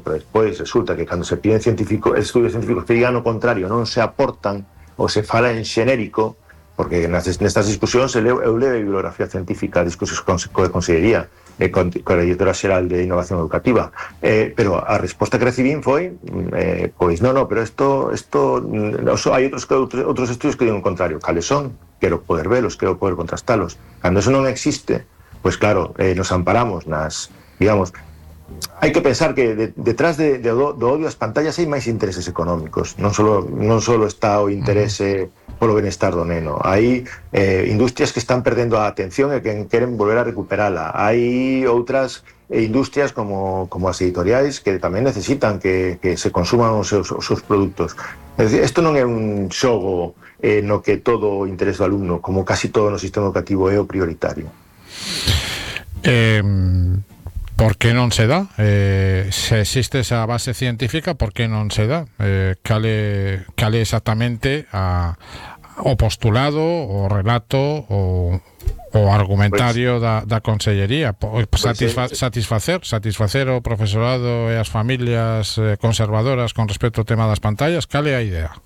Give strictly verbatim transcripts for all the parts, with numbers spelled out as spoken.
pero despois resulta que cando se piden científicos, estudios científicos que digan o contrario non se aportan ou se fala en xenérico, porque nestas discusións eu levo a bibliografía científica, discusións con a Consellería e con a Directora Xeral de Innovación Educativa, eh, pero a resposta que recibín foi eh, pois non, non, pero isto isto hai outros, outros, outros estudios que digan o contrario. Cales son? Quero poder velos, quero poder contrastalos. Cando eso non existe, pois claro, eh, nos amparamos nas, digamos, hai que pensar que de, detrás de, de, do odio ás pantallas hai máis intereses económicos, non só non só está o interese polo benestar do neno, hai eh, industrias que están perdendo a atención e que queren volver a recuperala, hai outras industrias como, como as editoriais que tamén necesitan que, que se consuman os seus, os seus produtos. É dicir, isto non é un xogo eh, no que todo o interés do alumno, como casi todo no sistema educativo, é o prioritario. Eh... Por que non se dá? Eh, se existe esa base científica, por que non se dá? Eh, cale, cale exactamente a, o postulado, o relato, o, o argumentario pues, da, da Consellería? Satisfa, pues, satisfacer satisfacer o profesorado e as familias eh, conservadoras con respecto ao tema das pantallas? Cale a idea?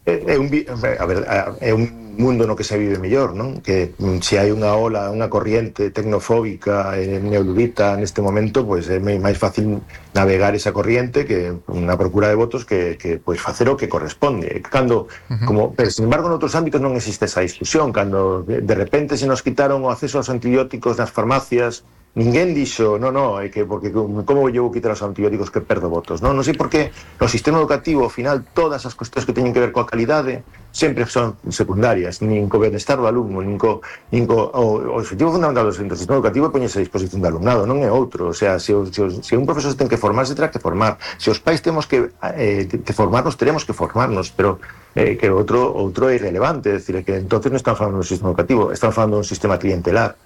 É un, a ver, é un mundo no que se vive mellor, non? Que se hai unha ola, unha corriente tecnofóbica e neoludita neste momento, pois é máis fácil navegar esa corriente que unha procura de votos que, que pois facer o que corresponde. Cando, uh-huh. como, pero, sin embargo, en outros ámbitos non existe esa discusión. Cando de repente se nos quitaron o acceso aos antibióticos nas farmacias, ninguén dixo, no, no, é que porque como eu vou quitar os antibióticos que perdo votos, non? Non sei por que no sistema educativo, ao final, todas as cuestións que teñen que ver coa calidade sempre son secundarias, nin co benestar do alumno, nin co, nin co o, o objetivo fundamental do sistema educativo é poñerse a disposición do alumnado, non é outro. O sea, se, o, se, o, se un profesor ten que formarse, terá que formar. Se os pais temos que, eh, que formarnos, teremos que formarnos, pero eh, que outro outro é irrelevante, é dicir, que entonces non estamos falando do sistema educativo, estamos falando dun sistema clientelar.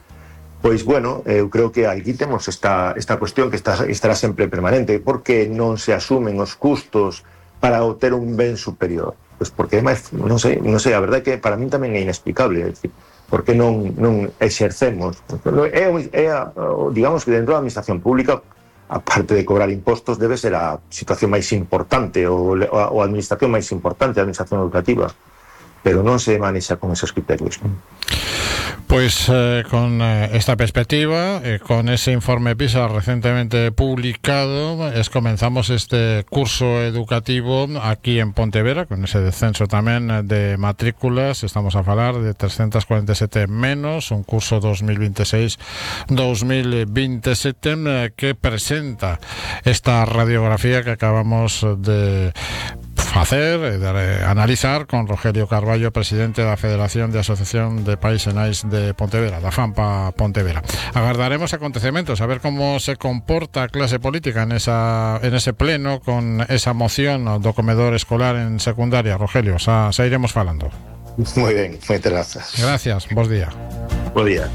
Pois, bueno, eu creo que aquí temos esta, esta cuestión que está, estará sempre permanente. Por que non se asumen os custos para obter un ben superior? Pois porque, máis, non sei, non sei, a verdade é que para min tamén é inexplicable, é dicir, por que non, non exercemos. É, é, digamos que dentro da administración pública, aparte de cobrar impostos, debe ser a situación máis importante, ou a, a administración máis importante, a administración educativa, pero non se manexa con esos criterios. Pues eh, con eh, esta perspectiva, eh, con ese informe PISA recientemente publicado, es comenzamos este curso educativo aquí en Pontevedra, con ese descenso tamén de matrículas. Estamos a falar de trescientos cuarenta y siete menos, un curso dos mil veintiséis dos mil veintisiete eh, que presenta esta radiografía que acabamos de facer, de analizar con Rogelio Carballo, presidente da Federación de Asociación de Pais e Nais de Pontevedra, da FAMPA Pontevedra. Agardaremos acontecementos, a ver como se comporta a clase política en esa en ese pleno con esa moción do comedor escolar en secundaria. Rogelio, xa, xa iremos falando. Moi ben, moitas grazas. Gracias, bos día. Bo día.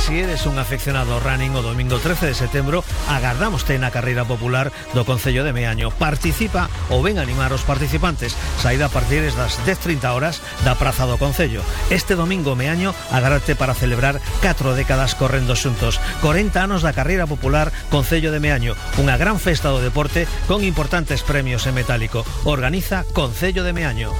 Se eres un afeccionado ao running, o domingo trece de setembro agardámoste na carreira popular do Concello de Meaño. Participa ou ven animar os participantes. Saída a partir das dez e trinta horas da Praza do Concello. Este domingo Meaño agárrate para celebrar catro décadas correndo xuntos. corenta anos da carreira popular Concello de Meaño. Unha gran festa do deporte con importantes premios en metálico. Organiza Concello de Meaño.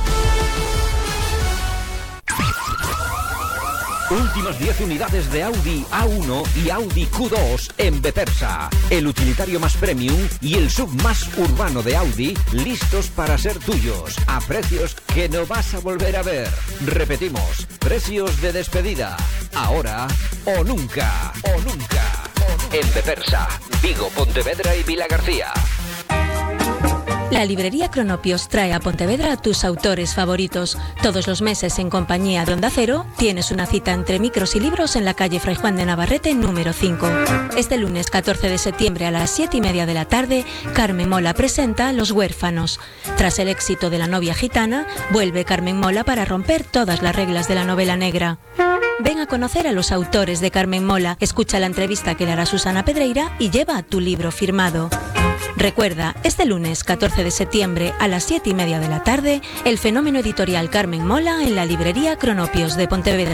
Últimas diez unidades de Audi A uno y Audi Q dos en Bepersa. El utilitario más premium y el sub más urbano de Audi listos para ser tuyos a precios que no vas a volver a ver. Repetimos, precios de despedida. Ahora o nunca. O nunca. En Bepersa, Vigo, Pontevedra y Vilagarcía. La librería Cronopios trae a Pontevedra a tus autores favoritos. Todos los meses, en compañía de Onda Cero, tienes una cita entre micros y libros en la calle Fray Juan de Navarrete número cinco. Este lunes catorce de septiembre a las siete y media de la tarde, Carmen Mola presenta Los Huérfanos. Tras el éxito de La novia gitana, vuelve Carmen Mola para romper todas las reglas de la novela negra. Ven a conocer a los autores de Carmen Mola, escucha la entrevista que dará Susana Pedreira y lleva tu libro firmado. Recuerda, este lunes catorce de septiembre a las siete y media de la tarde, el fenómeno editorial Carmen Mola en la librería Cronopios de Pontevedra.